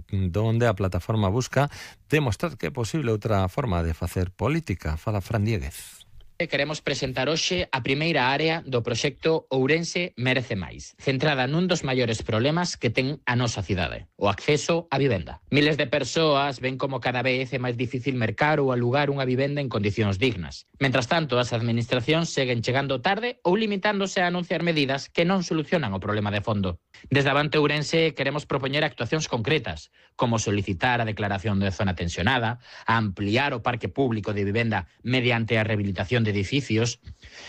donde a plataforma busca demostrar que é posible outra forma de facer política. Fala Fran Dieguez. Queremos presentar hoxe a primeira área do proxecto Ourense Merece Máis, centrada nun dos maiores problemas que ten a nosa cidade, o acceso á vivenda. Miles de persoas ven como cada vez é máis difícil mercar ou alugar unha vivenda en condicións dignas. Mentras tanto, as administracións seguen chegando tarde ou limitándose a anunciar medidas que non solucionan o problema de fondo. Desde Avante Ourense queremos propoñer actuacións concretas, como solicitar a declaración de zona tensionada, a ampliar o parque público de vivenda mediante a rehabilitación de edificios,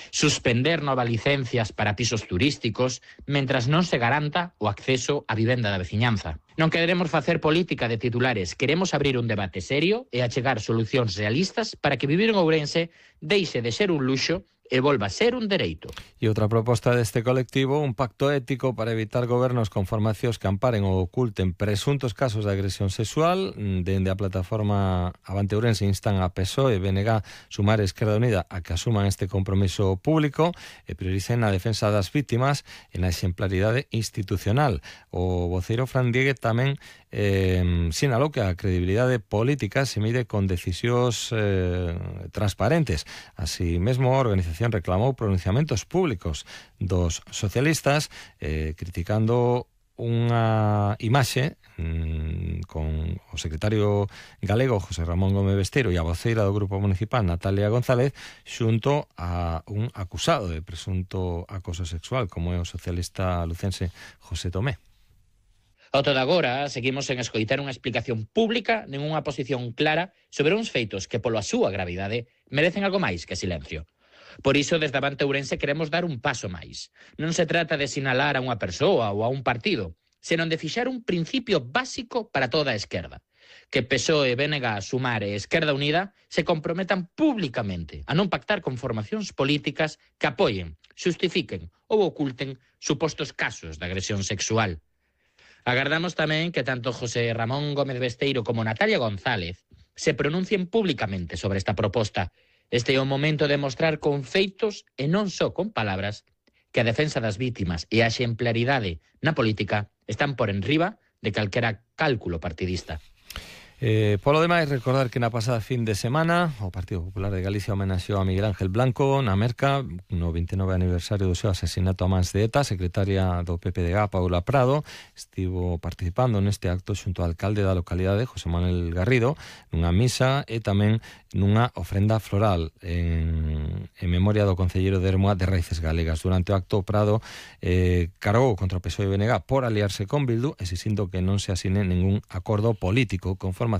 suspender novas licencias para pisos turísticos, mentras non se garanta o acceso á vivenda da veciñanza. Non queremos facer política de titulares, queremos abrir un debate serio e achegar solucións realistas para que vivir en Ourense deixe de ser un luxo e volva a ser un dereito. E outra proposta deste colectivo, un pacto ético para evitar gobernos con formacións que amparen ou oculten presuntos casos de agresión sexual. Dende a plataforma Avante Ourense instan a PSOE, BNG, Sumar e Esquerda Unida a que asuman este compromiso público e prioricen a defensa das vítimas e na exemplaridade institucional. O voceiro Fran Dieguez tamén sinalou que a credibilidade política se mide con decisións transparentes. Así mesmo a organización reclamou pronunciamentos públicos dos socialistas criticando unha imaxe con o secretario galego José Ramón Gómez Besteiro e a voceira do Grupo Municipal Natalia González xunto a un acusado de presunto acoso sexual como é o socialista lucense José Tomé. Ao todo agora, seguimos en escoitar unha explicación pública nin unha posición clara sobre uns feitos que, polo a súa gravidade, merecen algo máis que silencio. Por iso, desde Avante Ourense queremos dar un paso máis. Non se trata de sinalar a unha persoa ou a un partido, senón de fixar un principio básico para toda a esquerda. Que PSOE, BNG, Sumar e Esquerda Unida se comprometan públicamente a non pactar con formacións políticas que apoien, xustifiquen ou oculten supostos casos de agresión sexual. Agardamos tamén que tanto José Ramón Gómez Besteiro como Natalia González se pronuncien públicamente sobre esta proposta. Este é o momento de mostrar con feitos e non só con palabras que a defensa das vítimas e a exemplaridade na política están por enriba de calquera cálculo partidista. Polo demais, recordar que na pasada fin de semana o Partido Popular de Galicia homenaxeou a Miguel Ángel Blanco na Merca no 29 aniversario do seu asesinato a mans de ETA. Secretaria do PPDG, Paula Prado, estivo participando neste acto xunto ao alcalde da localidade, José Manuel Garrido, nunha misa e tamén nunha ofrenda floral en memoria do concelleiro de Ermua de Raíces Galegas. Durante o acto, Prado cargou contra o PSOE e BNG por aliarse con Bildu, exixindo que non se asine ningún acordo político con formacións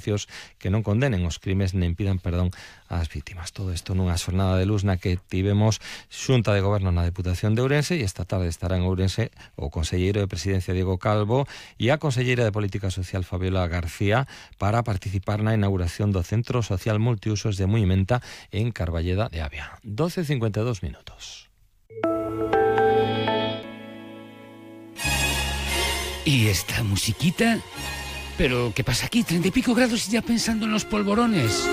que non condenen os crimes nen pidan perdón ás vítimas. Todo isto nunha xornada de luz na que tivemos Xunta de Goberno na Deputación de Ourense e esta tarde estará en Ourense o conselleiro de Presidencia Diego Calvo e a conselleira de Política Social Fabiola García para participar na inauguración do Centro Social Multiusos de Muimenta en Carballeda de Avia. 12:52 minutos. ¿Y esta musiquita? ¿Pero qué pasa aquí? 30 y pico grados y ya pensando en los polvorones.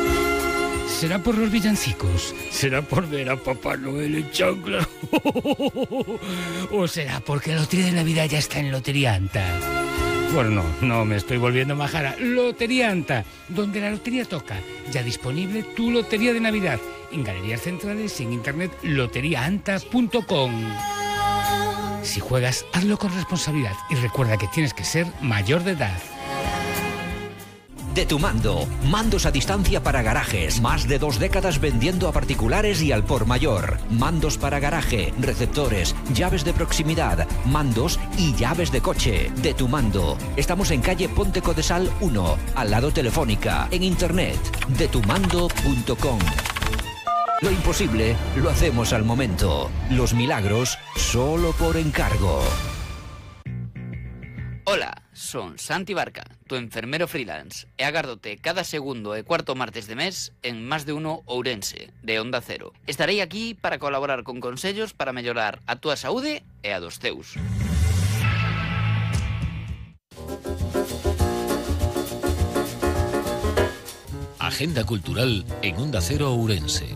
¿Será por los villancicos? ¿Será por ver a Papá Noel en chancla? ¿O será porque la lotería de Navidad ya está en Lotería Anta? Bueno, no me estoy volviendo majara. Lotería Anta, donde la lotería toca. Ya disponible tu lotería de Navidad. En galerías centrales y en internet loteriaanta.com. Si juegas, hazlo con responsabilidad y recuerda que tienes que ser mayor de edad. De Tu Mando, mandos a distancia para garajes, más de 2 décadas vendiendo a particulares y al por mayor. Mandos para garaje, receptores, llaves de proximidad, mandos y llaves de coche. De Tu Mando. Estamos en calle Ponte Codesal 1, al lado Telefónica, en internet, detumando.com. Lo imposible lo hacemos al momento. Los milagros solo por encargo. Hola, son Santi Barca, tu enfermero freelance, e agárdote cada segundo e cuarto martes de mes en Más de Uno Ourense, de Onda Cero. Estarei aquí para colaborar con consellos para mellorar a túa saúde e a dos teus. Agenda cultural en Onda Cero Ourense.